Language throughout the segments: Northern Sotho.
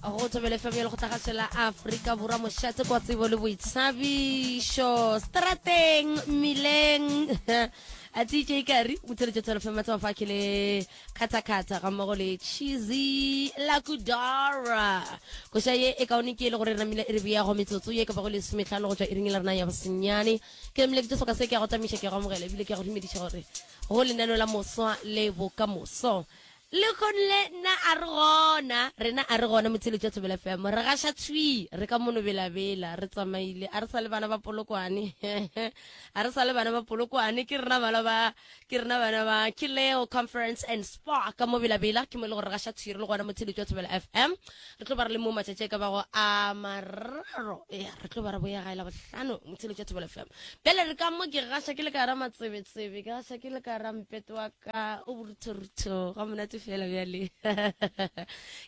Go Thobela FM ya Lekgotlakgašo la Afrika Borwa, mošate kwa tsebo le boithabišo, strateng, mmileng. A DJ Kari, motheletše Thobela FM Matsama fa ke le khathakhatha ga mmogo le Cheesy Lakudara. Koša ye e kaone ke e le gore re namile e re bea go metsotso ye ka bago lesometlhano go tšwa iring la rena ya bosenyane. Ke namile ke tše soka se ke ya go tamiša ke ya go amogela ebile ke ya go dumediša gore go lenaneo la moswa le bokamoso. Lehono le nna a re gona, rena a re gona motheeletši wa Thobela FM. Re gaša thwi, re ka mono belabela, re tsamaile, a re sa le bana ba Polokwane. A re sa le bana ba Polokwane, ke rena bana ba, ke rena bana ba Kileo Conference and Spa ka mo belabela, ke mo e le gore re gaša thwi re le gona motheeletši wa Thobela FM. Re tlo ba re le mo matšatši a ka bago a mararo, ya, re tlo ba re boya gae Labohlano motheeletši wa Thobela FM. Bjale re ka mo ke gaša ke le ka gara matsebetsebe, ke gaša ke le ka gara mpete wa ka o boruthorutho ga monate fela bjale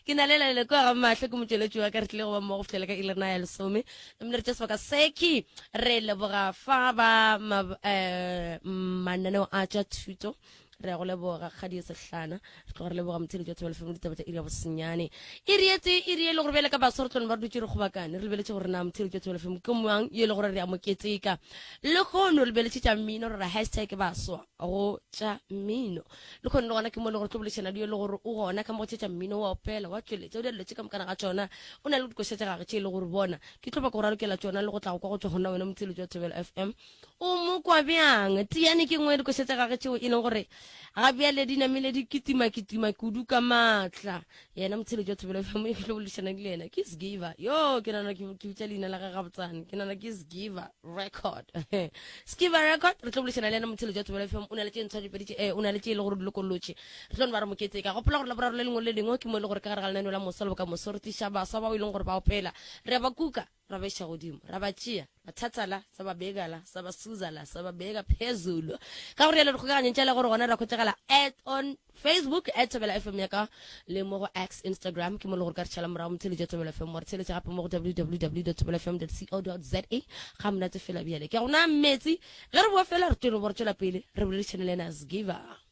ke na le lalele kua ga mahlo ke motšweletši wa ka re tlile go ba mmogo fihlela ka ilena ya lesome mme re tša sebaka seki re leboga fa ba um mananeo a tša thuto re ya go leboga kgadi e sehlana re tloga re leboga motheletši wa thobela fm ditaba tša iri ya bosenyane iri e tee iri e le gore bjale ka baswa re tlone ba re dutše re kgobakane re lebeletše gore na motheletši wa thobela fm ke mang yo e le gore re ya mo keteka le kgono re lebeletše tša mmino re ra hashtag baswa go tša mmino le kgone le gona ke mo le gore tlo bolešana le yo le gore o gona ka mo go tše tša mmino wa opela wa tšweletša o dira dilo tše ka mokana ga tšona o na le dikoša tša gage tše e le gore bona ke tlo ba ko ralokela tšona le go tla go kwa go tšwa gona wena motheletši wa Thobela FM o mo kwa bjang tiane ke nngwe ya dikoša tša gage tšeo e leng gore ga bjale di namile di kitima kitima kudu ka maatla yena motheletši wa Thobela FM e tlo boledišana le yena ke Sgiva yo ke nana ke bitša leina la gage gabotsane ke nana ke Sgiva record Sgiva record re tlo boledišana le yena motheletši wa Thobela FM o na le tše ntshwa dipedi tše eh, o na le tše e le gore di lokolotše re tlo no ba re moketse ka gopola gore laboraro le lengwe le lengwe ke mo e le gore ka gare ga lenaneo la moso le bokamoso re tliša baswa bao e leng gore ba opela re ba kuka ra ba iša godimo ra ba tšea ra thatha la sa ba beka la sa ba suza la sa ba beka phezulu ka gore yalo dikgokaganyong tša le gore gona ra khwetšagala at on facebook at thobela fm ya ka le mo go x instagram ke mo le gore ka re tšhala morago motheletša thobela fm wa re theletša gape mo go www thobela fm co za ga monate fela bjale ke gona metsi ge re boa fela re tšwele bo re tšwela pele re boledišane le ena sgiver.